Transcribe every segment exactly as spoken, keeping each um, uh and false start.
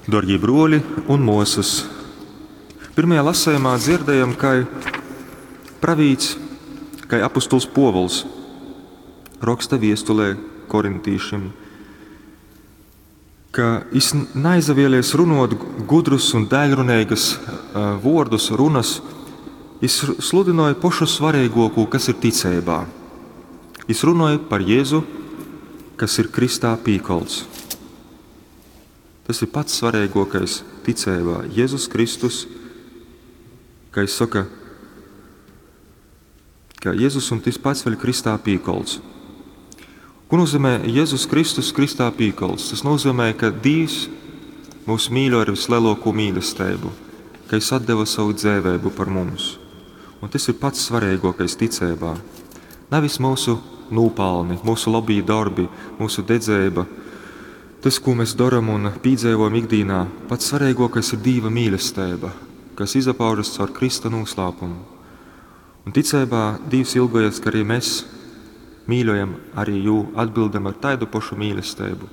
Darbie bruoli un muosys, pirmajā lasījumā dzirdējam, kai pravīts, kai apustuls Pōvuls roksta viestulē korintīšim, ka jis naizavielies runot gudrus un daiļruneigas vuordus, runas, jis sludinoja pošu svarīgāko, kas ir ticeibā. Jis runoja par Jēzu, kas ir kristā pīkolts. Tas ir pats svarīgākais ticeibā. Jēzus Kristus, kā jis saka, ka Jēzus un tas pats vēl kristā pīkolts. Ko nozīmē Jēzus Kristus kristā pīkolts? Tas nozīmē, ka Dievs mūs mīļo ar vislielāko mīlestību, ka Viņš atdeva savu dzīvību par mums. Un tas ir pats svarīgākais ticeibā. Nevis mūsu nopelni, mūsu labī darbi, mūsu dedzība, tas, ko mēs darām un piedzīvojam ikdienā, pats svarīgākais ir Dieva mīlestība, kas izpaužas caur Krista noslēpumu. Un ticeibā Dievs ilgojas, ka arī mēs mīļojam arī jū, atbildam ar tādu pašu mīlestību.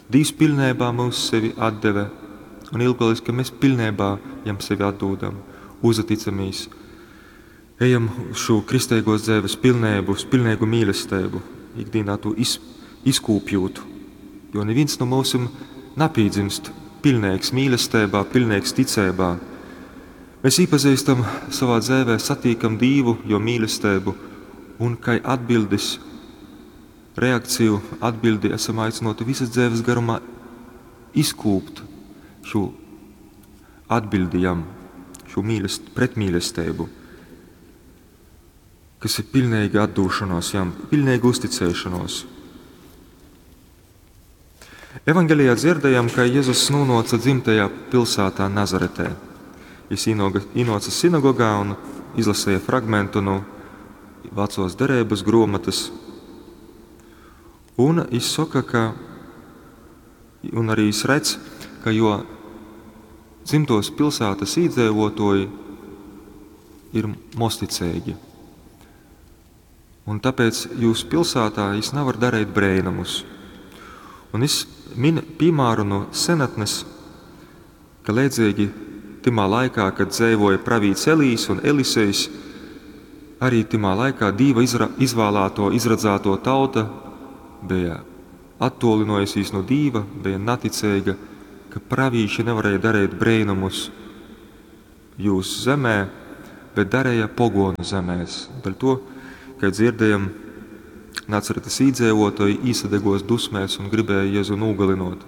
Dievs pilnībā mūs sevi atdeve un ilgojas, ka mēs pilnībā jam sevi atdūdam, uzticamies. Ejam uz šo kristīgos dzīves pilnību, uz pilnīgu mīlestību, ikdienā to iz, izkūpjūt. Jo neviens no mums napīdzimst pilnīgs mīlestībā, pilnīgs ticībā. Mēs iepazīstam savā dzīvē, satīkam Dievu, jo mīlestību, un kā atbildes, reakciju atbildi esam aicināti visas dzīves garumā izkūpt šo atbildi jam, šo mīlest, pretmīlestību, kas ir pilnīga atdošanās jam, pilnīga uzticēšanos. Evangelijā dzirdējam, ka Jēzus nonāca dzimtajā pilsētā Nazaretē. Jis ienāca sinagogā un izlasīja fragmentu no vecos derības grāmatas. Un viņš saka, ka, un arī viņš redz, ka jo dzimtos pilsētas iedzīvotāji ir mosticīgi. Un tāpēc jūs pilsētā jis nevar darīt brēnumus. Un es min piemēru no senatnes, ka līdzīgi timā laikā, kad dzīvoja pravīts Elīs un Elisejs, arī timā laikā Dieva izra, izvēlēto, izradzēto tauta bija attolinojusies no Dieva, bija neticīga, ka pravīši nevarēja darīt brēnumus jūsu zemē, bet darīja pogonu zemēs. Par to, kad dzirdējam, Nacaretes iedzīvotāji īsadegos dusmēs un gribēja Jēzu nogalinot.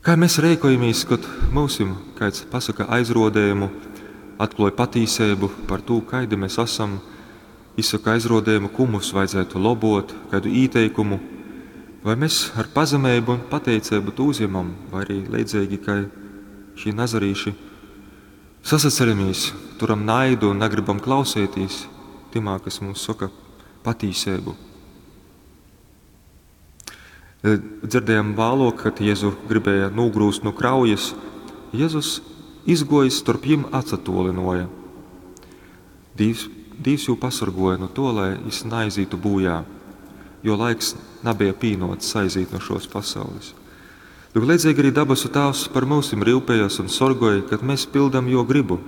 Kā mēs rēkojamies, kad mūsim kāds pasaka aizrodējumu, atklāja patīsību par to, kaidi mēs esam, izsaka aizrodējumu, ko mums vajadzētu lobot, kādu ieteikumu, vai mēs ar pazemību un pateicību to uzņemam, vai arī līdzīgi, kā šī nazarīši sasaceramies, turam naidu un negribam klausēties timā, kas mums saka patīsību. Dzirdējām vēlāk, kad Jēzu gribēja nogrūst no kraujas, Jēzus izgojis starp jim atsatolinoja. Dievs, Dievs jū pasargoja no to, lai jis naizītu bojā, jo laiks nebija pīnots aizīt no šos pasaules. Lūk, līdzīgi arī dabasu Tēvs par mūsim rūpējas un sorgoja, kad mēs pildam jo gribu.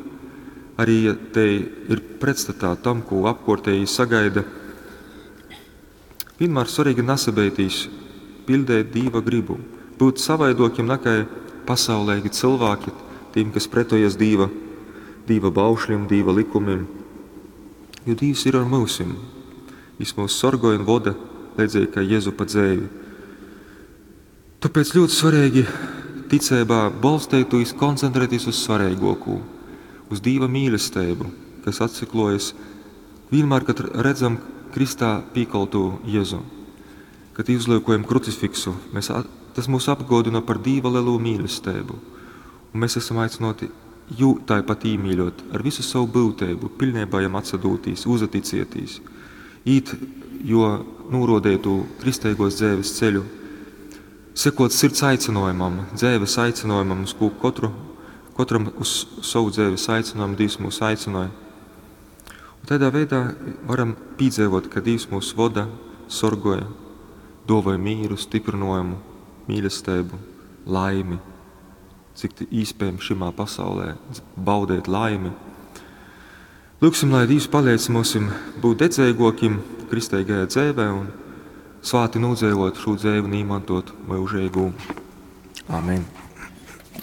Arī ja te ir pretstatā tam, ko apkortēji sagaida, vienmēr svarīgi nesabeitīs pildēt Dieva gribu, būt savaidokiem nekā pasaulīgi cilvēki, tiem, kas pretojas Dieva, Dieva baušļiem, Dieva likumiem. Jo Dievs ir ar mūsim. Viņš mūs sorgoja un voda, līdzīgi kā Jēzu pa dzēvi. Tāpēc ļoti svarīgi ticībā balstīties, koncentrēties uz svarīgāko, uz Dieva mīlestību, kas atsiklojas vienmēr, kad redzam Kristā pīkolto Jēzu. Kad izliekojam krucifiksu, mēs, tas mūs apgodina par Dieva lielo mīlestību. Un mēs esam aicināti jū tāpat īmīļot ar visu savu būtību, pilnībā jam atsadūtīs, uzaticieties, īt, jo norodētu kristīgos dzīves ceļu, sekot sirds aicinājumam, dzīves aicinājumam, uz ko katru, katram uz savu dzīves aicinājumu Dievs mūs aicināja. Un tādā veidā varam piedzīvot, ka Dievs mūs voda, sorgoja, dāvāja mīru, stiprinājumu, mīlestību, laimi. cik īspējams šimā pasaulē baudēt laimi. Lūgsim, lai Dīvs paliec mums būt dedzeigākiem kristeigajā dzīvē un svāti nodzīvot šo dzīvi un īmantot mūžīgu. Amen.